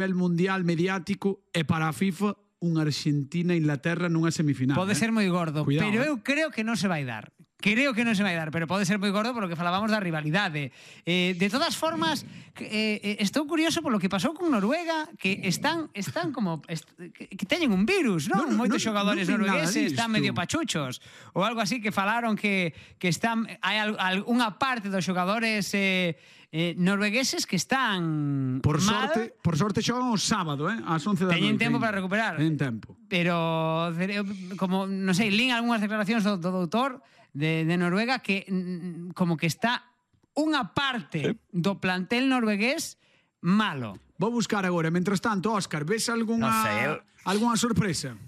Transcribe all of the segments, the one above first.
nivel mundial mediático e para a FIFA unha Argentina-Inglaterra nunha semifinal. Pode ser moi gordo, Cuidado, pero eu creo que non se vai dar. Creo que non se vai dar, pero pode ser moi gordo polo que falábamos da rivalidade. De todas formas, estou curioso polo que pasou con Noruega, que están como que teñen un virus, non? Moitos xogadores noruegueses están medio pachuchos ou algo así, que falaron que están hai algunha parte dos xogadores noruegueses que están por sorte xogan o sábado, ás 11 da noite. Teñen tempo para recuperar. Teñen tempo. Pero como, non sei, lín algunhas declaracións do doutor de Noruega que como que está unha parte do plantel noruegués malo. Vou buscar agora. Mientras tanto, Óscar, ves algunha sorpresa?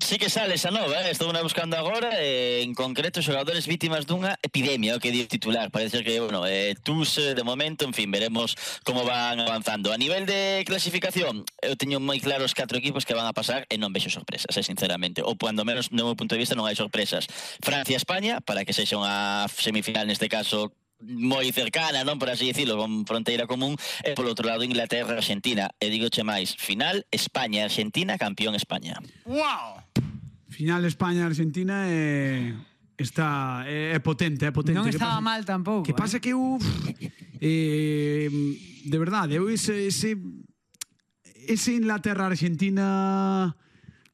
Sí que sale esa nova, estou na buscando agora, en concreto xogadores vítimas dunha epidemia, o que di o titular. Parece que, bueno, TUS de momento, en fin, veremos como van avanzando. A nivel de clasificación, eu teño moi claros 4 equipos que van a pasar e non vexo sorpresas, sinceramente. Ou, cuando menos, no meu punto de vista, non hai sorpresas. Francia-España, para que sexa unha semifinal, neste caso, moi cercana, non, por así dicilo, con fronteira común, e polo outro lado Inglaterra, Argentina, e digoche máis, final España-Argentina, campeón España. ¡Wow! Final España-Argentina é potente, é potente. Non estaba mal tampouco. Que pasa que de verdade, ese Inglaterra-Argentina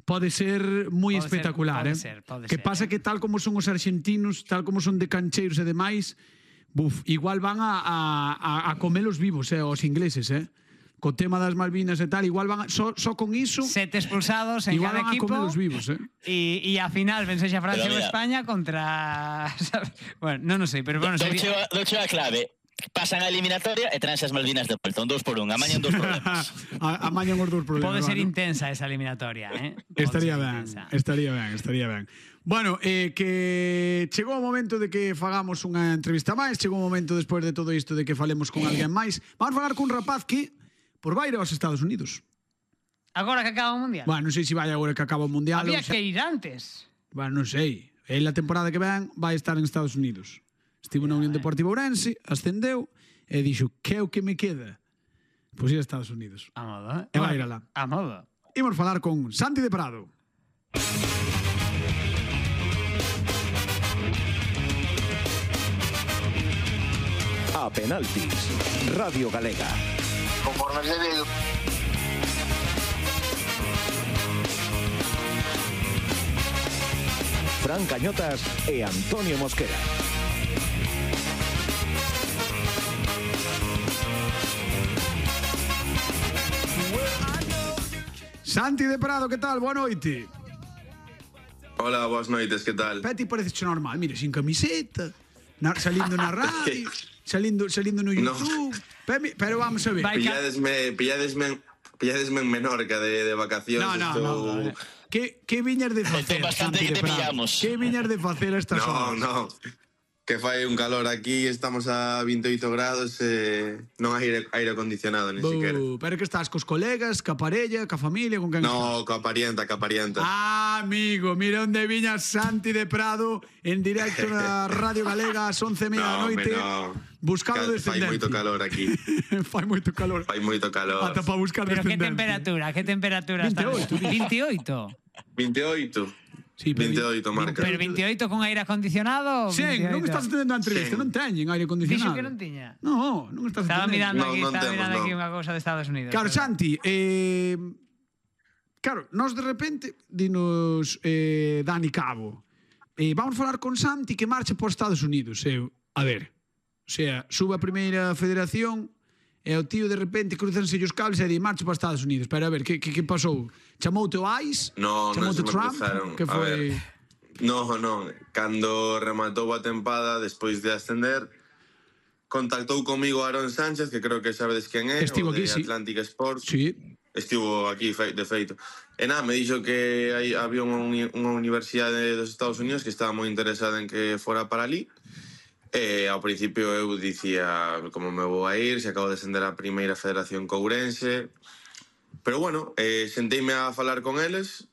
pode ser moi espectacular, pode que ser, pasa que tal como son os argentinos, tal como son de cancheiros e demais, igual van a comelos vivos, os ingleses, co tema das Malvinas e tal, igual van só con iso 7 expulsados en cada equipo, igual van a comelos vivos, e a final vensexa Francia ou España contra bueno, non sei, pero bueno, Douche a clave. Pasan a eliminatoria e traense as Malvinas de volta, un 2-1, amañan 2 problemas. Amañan os 2 problemas. Pode ser intensa esa eliminatoria, Estaría ben. Bueno, que chegou o momento de que fagamos unha entrevista máis, chegou o momento despois de todo isto de que falemos con alguén máis. Vamos falar cun rapaz que por vai ir aos Estados Unidos. Agora que acaba o Mundial? Bueno, non sei se vai agora que acaba o Mundial. Había que ir antes. Bueno, non sei. En la temporada que ven vai estar en Estados Unidos. Estivo na Unión Deportiva Ourense, ascendeu e dixo, que é o que me queda? Pois ir a Estados Unidos. A modo, E vai ir alá. A modo. Imos falar con Santi de Prado. A penaltis, Radio Galega. Conforme se ve. Fran Cañotas e Antonio Mosquera. Santi de Prado, que tal? Boa noite. Hola, boas noites, que tal? Peti parece normal, mire, sin camiseta, salindo na radio, salindo no YouTube. No. Pero vamos a ver. Pilladesme en Menorca de vacacións. No. Que viñas de facer, Santi de Prado? Que viñas de facer a estas horas? No. Que fai un calor aquí, estamos a 28 grados e non hai aire acondicionado, ni siquiera. Pero que estás cos colegas, ca parella, ca familia, con quen No, estás? ca parienta. Ah, amigo, mira onde viña Santi de Prado en directo na Radio Galega ás 11:30 da noite. Buscando descendencia. Fai moito calor aquí. Fai moito calor. Ata para buscar descendencia. Pero que temperatura? 28. 28. Sí, 28 marca. Pero 28 con aire acondicionado? Sí, non estás atendendo a entrevista, non teñen aire acondicionado. Dixo que non tiña. Non estás atendendo. Estaba mirando aquí unha cousa de Estados Unidos. Claro, Santi, claro, nós de repente dinos Dani Cabo, vamos falar con Santi que marcha por Estados Unidos. A ver, o sea, sube a primeira federación e o tío de repente cruzanse os cables e di marcha para Estados Unidos. Pero a ver, que pasou? Chamoute o ICE? No, non se me Trump? cruzaron. Que foi? Non. Cando rematou a tempada, despois de ascender, contactou comigo Aaron Sánchez, que creo que sabedes quen é, Estivo aquí, de sí. Atlantic Sports. Sí. Estivo aquí, de feito. E nada, me dixo que había unha universidade dos Estados Unidos que estaba moi interesada en que fora para ali. E ao principio eu dicía como me vou a ir, se acabo de ascender a primeira federación courense. Pero bueno, senteime a falar con eles,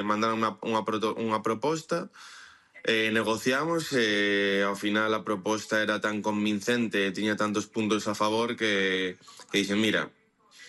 mandaron unha proposta, negociamos e ao final a proposta era tan convincente e tiña tantos puntos a favor que dixen, mira,